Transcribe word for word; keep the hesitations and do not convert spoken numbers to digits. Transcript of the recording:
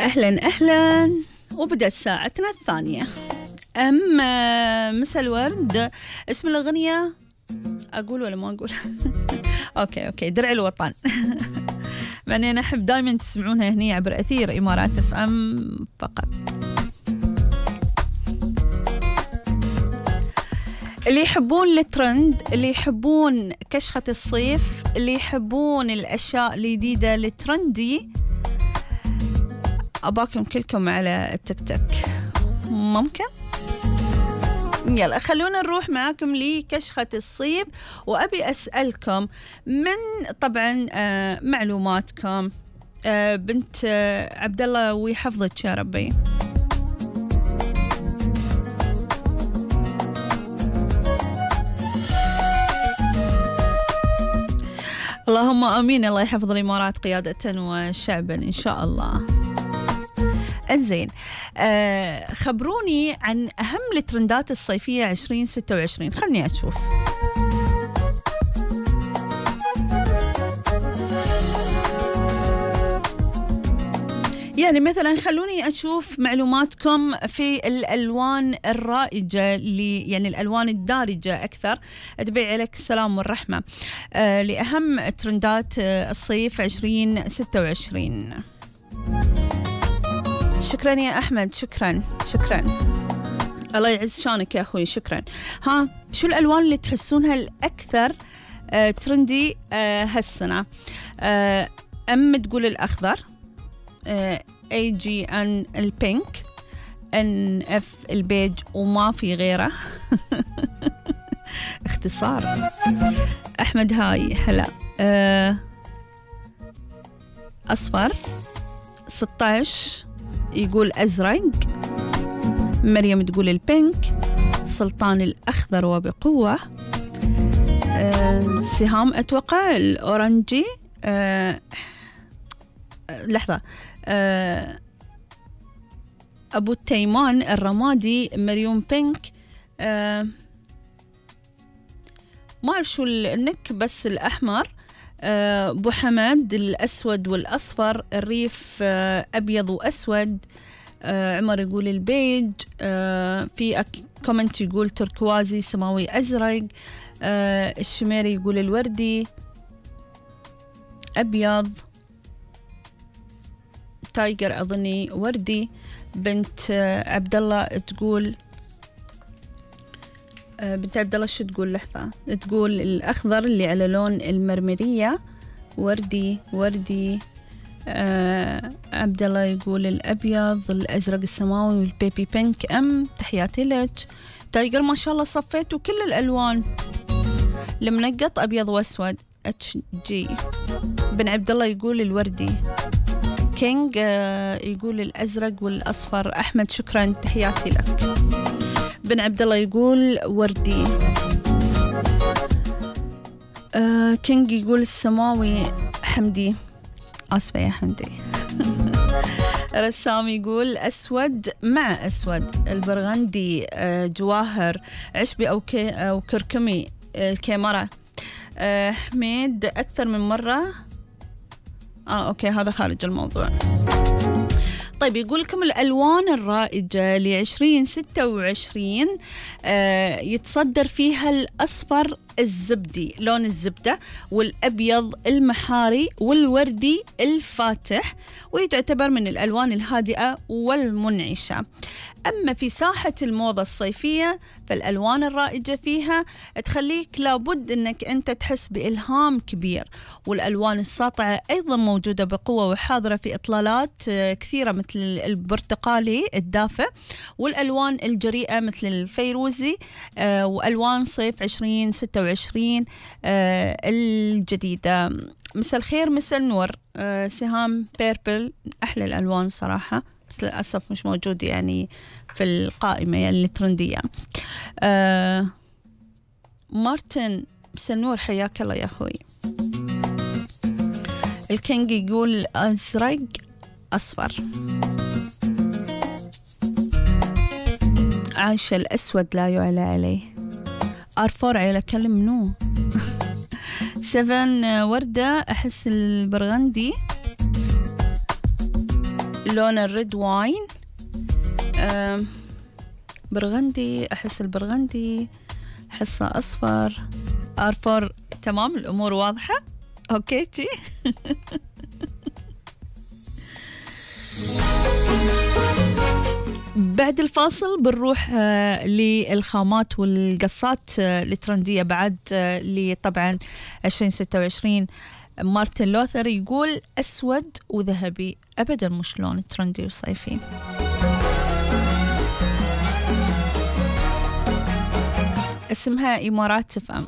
أهلا أهلا، وبدأت ساعتنا الثانية. أما مساء الورد، اسم الأغنية أقول ولا ما أقول؟ أوكي أوكي درع الوطن. يعني أنا أحب دائما تسمعونها هني عبر أثير إمارات اف ام فقط. اللي يحبون الترند، اللي يحبون كشخة الصيف، اللي يحبون الأشياء الجديدة الترندي، أباكم كلكم على التيك توك. ممكن؟ يلا خلونا نروح معاكم لكشخة الصيف، وأبي أسألكم من طبعا آه معلوماتكم. آه بنت آه عبد الله ويحفظك يا ربي. اللهم آمين. الله يحفظ الإمارات قيادة وشعبا إن شاء الله. انزين، آه خبروني عن أهم الترندات الصيفية عشرين ستة وعشرين. خلني أشوف. يعني مثلا خلوني أشوف معلوماتكم في الألوان الرائجة، اللي يعني الألوان الدارجة أكثر. أتبعي عليك السلام والرحمة. آه لأهم ترندات الصيف عشرين ستة وعشرين. شكرا يا أحمد، شكرا شكرا، الله يعز شانك يا أخوي، شكرا. ها، شو الألوان اللي تحسونها الأكثر آه ترندي آه هالسنة؟ آه أم تقول الأخضر، اي جي ان البينك، ان اف البيج، وما في غيره. اختصار. احمد هاي هلا. أه اصفر. ستة عشر يقول ازرق. مريم تقول البينك. سلطان الاخضر وبقوه. أه سهام اتوقع الاورنجي. أه لحظة. أه أبو التيمان الرمادي. مريم بينك. أه ما أعرف شو النك، بس الأحمر. أه أبو حماد الأسود والأصفر. الريف أه أبيض وأسود. أه عمر يقول البيج. أه في كومنت يقول تركوازي سماوي أزرق. أه الشميري يقول الوردي أبيض. تايجر أظني وردي. بنت عبد الله تقول بنت عبد الله شو تقول؟ لحظة. تقول الأخضر اللي على لون المرمرية وردي وردي. آه عبد الله يقول الأبيض، الأزرق السماوي، والبيبي بينك. أم تحياتي لك تايجر، ما شاء الله صفيتوا كل الألوان. المنقط أبيض وأسود. اتش جي. بن عبد الله يقول الوردي. كينج يقول الأزرق والأصفر. أحمد شكرا تحياتي لك. بن عبد الله يقول وردي. آه كينج يقول السماوي. حمدي آسفة يا حمدي. رسام يقول أسود مع أسود. البرغندي. آه جواهر. عشبي أو, كي أو كركمي. الكاميرا. آه حميد أكثر من مرة. آه أوكي هذا خارج الموضوع. طيب يقول لكم الألوان الرائجة لعشرين ستة وعشرين. آه يتصدر فيها الأصفر الزبدي لون الزبدة، والأبيض المحاري، والوردي الفاتح، ويتعتبر من الألوان الهادئة والمنعشة. أما في ساحة الموضة الصيفية فالألوان الرائجة فيها تخليك لابد أنك أنت تحس بإلهام كبير، والألوان الساطعة أيضا موجودة بقوة وحاضرة في إطلالات كثيرة مثل البرتقالي الدافئ، والألوان الجريئة مثل الفيروزي، آه وألوان صيف عشرين ستة وعشرين آه الجديدة. مساء الخير مساء النور. آه سهام بيربل أحلى الألوان صراحة، بس للأسف مش موجود يعني في القائمة يعني الترندية. آه مارتن مساء النور حياك الله يا أخوي. الكينج يقول أزرق أصفر. عايشة الأسود لا يعلى عليه. أرفور عيلة كلم منو. سفن وردة أحس البرغندي. لون الريد واين. برغندي، أحس البرغندي حصة أصفر. آر فور. تمام، الأمور واضحة. أوكي تي. بعد الفاصل بنروح للخامات والقصات الترندية بعد اللي طبعا عشرين ستة وعشرين. مارتن لوثر يقول أسود وذهبي أبدا مش لون ترندي وصيفي. اسمها إمارات تفهم.